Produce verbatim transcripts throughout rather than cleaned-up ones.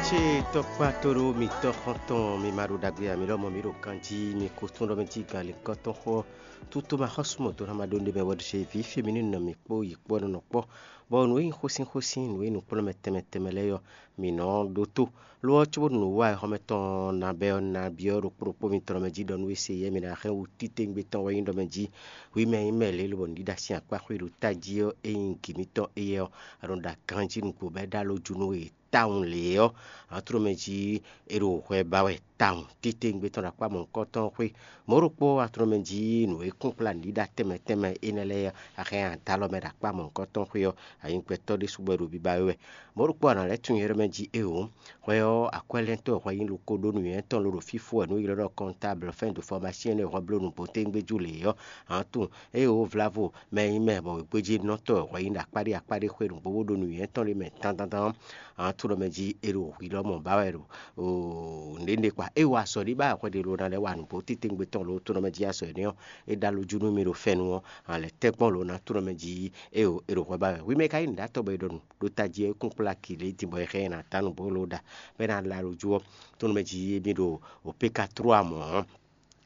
Cé tɔkpá tó ɖó mitɔ́ xɔ́ntɔn mi ma ɖo ɖagbe ǎ, mi lɔmɔ̌ mi ɖo ganjí, mi ko tún ɖɔ mɛ jí gan lǐnkɔ́tɔn xó. Tútú ma xɔ́sú mɔ̌ dó ná ma ɖó nɖé mɛ wɛ ɖo vǐ féminin nɔ mǐ kpó yi kpó nɔ kpɔ́, bɔ nǔ e nyí xósínxósín, nǔ e nyí nǔkplɔ́nmɛ tɛnmɛ tɛnmɛ lɛ́ɛ ɔ́, mǐ nɔ ɖótó. Lo ɔ́, cóbónú nǔwiwa wexɔmɛ tɔn ná bɛ́ ɔ́, ná byɔ́ ɖokpó ɖokpó mitɔn mɛ jí ɖɔ nú é se yɛ́ mi ná hɛn wú títewungbe tɔn wɛ nyí ɖɔ mɛ jí hwi mɛ nyí mɛ lě lobɔ nǔɖiɖa sín akpá xwé ɖo tají ɔ́, é nyí gǐ mitɔn éyɛ́ ɔ́, a nɔ ɖo aganjí nǔgbó bɔ é ɖó alɔ jú nú we tawun lě ɔ́, a nɔ tló mɛ jí é ɖo hwɛ ba wɛ tawun. Títewungbe tɔn ɖo akpá mɔ̌hunkɔtɔn xwé. Mɔ̌ ɖokpó a nɔ tló mɛ jí nǔ e kún kplá nǔɖiɖa tɛnmɛ tɛnmɛ énɛ́ lɛ́ɛ ɔ́, a hɛn nya dó alɔ mɛ ɖo akpá mɔ̌hunkɔtɔn xwé ɔ́, a nyí gbɛtɔ́ ɖésú bɔ é ɖo biba we wɛ. Mɔ̌ ɖokpó a nǎ lɛ́ tunwun yɛ ɖɔ mɛ jí éeǒ. Hwɛ ɔ́, akwɛ́lɛ́ntɔ́ hwɛ nyí ɖokpó ɖó nǔnywɛ́ tɔn ló ɖo fífó wɛ nú ylɔ́ ɖɔ kɔntábl fɛ́n do fɔmasyɛn e hwɛ bló nǔgbó tégbéjú lě ɔ́, a nǎ tunwun éeǒ vlávo mɛ e nyí mɛ bɔ wěgbéjénɔtɔ́ wɛ hwɛ nyí ɖo akpáɖé akpáɖé xwé nǔgbó bó ɖo nǔnywɛ́ tɔn lé mɛ dandandan ɔ́, a nǎ tunwun ɖɔ mɛ jí é ɖo hwi lɔmɔ̌ ba wɛ ɖo nǔɖé kpa. É wa azɔ̌ ɖé ba wɛ hwɛ ɖé ló ná lɛ́ wa nǔgbó títewungbe tɔn ló tunwun ɖɔ mɛ jí azɔ̌ énɛ́ ɔ́, é ɖó alɔ jú nú mi ɖo fɛ́nú ɔ́, a lɛ̌ tɛ́ gbɔn ló ná tunwun ɖɔ mɛ jí éeǒ é ɖo hwɛ ba wɛ. Hwi mɛ ka nyí nǔɖatɔ́ bɔ è ɖɔ nǔ ɖo tají ɔ́, é kún kplá kǐ lě din bɔ è hɛn ɛ ná dó nǔ bó ló ɖa, bɔ é ná ɖo alɔ jú ɔ́, tónú mɛ jí émí ɖo opékatrúa mɔ̌ ɔ́,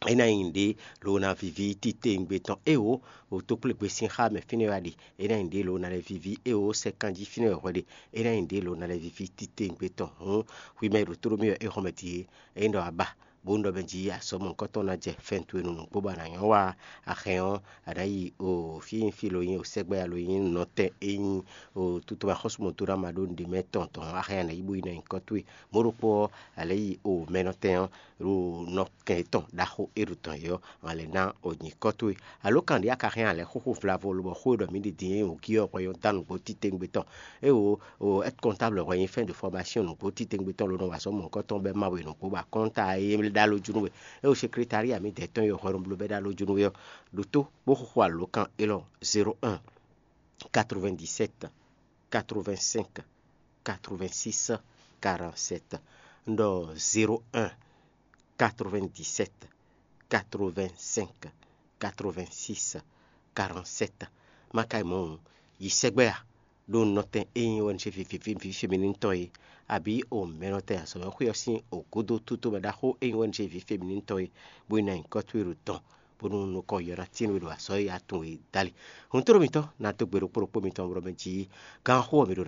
é ná nyí nǔɖé ló ná víví títewungbe tɔn. Éeǒ, wǒtókplégbé sín xá mɛ fínɛ́ wɛ a ɖe, é ná nyí nǔɖé ló ná lɛ́ víví. Éeǒ, sɛkanjí fínɛ́ wɛ hwɛ ɖe, é ná nyí nǔɖé ló ná lɛ́ víví títewungbe tɔn. Hǔn hwi mɛ e ɖo tóɖó mì wɛ é xɔmɛ din é, ényí ɖɔ a ba bó un ɖɔ mɛ jí azɔ̌ mɔ̌hunkɔtɔn ná jɛ fɛn towe nú nǔgbó bɔ a nǎ nyɔ́ wa axɛn ɔ́, a nǎ yi o fí e nyí fí lo nyí o sɛgbɛ alo nyí nɔtɛn e nyí o tutu axɔ́súmɔdóɖó ama ɖó nǔɖé mɛ tɔn tɔn axɛn a nǎ yi bó yi ná nyǐkɔ towe. Mɔ̌ ɖokpó ɔ́, a lɛ̌ yi o mɛnɔtɛn ɔ́ ɖo nɔ kɛn yětɔn ɖaxó e ɖo tɔn yě ɔ́, a lɛ̌ ná o nyǐkɔ towe. Alo kan ɖě a ka hɛn a lɛ̌ xóxó vlavo lobɔ xó e ɖɔ mǐ ɖi din e nyí wǔgí ɔ́ hwɛ nyɔ́ dó nǔgbó títewungbe tɔn. Éeǒ, o aide comptable hwɛ nyí fin de formation nǔgbó títewungbe tɔn ló nɔ wa azɔ̌ mɔ̌hunkɔtɔn bɔ é ma we nǔgbó bɔ akɔ́nta e é ɖó alɔ jú nú we. É o secrétariat mǐdɛɛ tɔn e xwɛ nɔ bló bɔ é ɖó alɔ jú nú we ɔ́, ɖo tó bó xóxó alǒkan élɔ́: zéro un, quatre-vingt-dix-sept, quatre-vingt-cinq, quatre-vingt-six, quarante-sept. Un ɖɔ zéro un, quatre-vingt-dix-sept, quatre-vingt-cinq, quatre-vingt-six, quarante-sept. Má ka yi mɔ̌ hǔn, yi sɛgbɛ a ɖó nɔtɛn e nyí O N G vǐví vǐví féminine tɔn é, abǐ o mɛnɔtɛn azɔ̌mɛxwé ɔ́ sín o gúdo tútú mɛ ɖaxó e nyí O N G vǐví féminine tɔn é, bó yi ná nyǐkɔ towe ɖo tɔn, bónú nukɔn yɔ ná tín we ɖo azɔ̌ e a tunwun é dali. Hǔn tló mitɔ́ ná dó gbe ɖokpó ɖokpó mitɔn bló mɛ jí, gǎnxó ɔ́ mi ɖo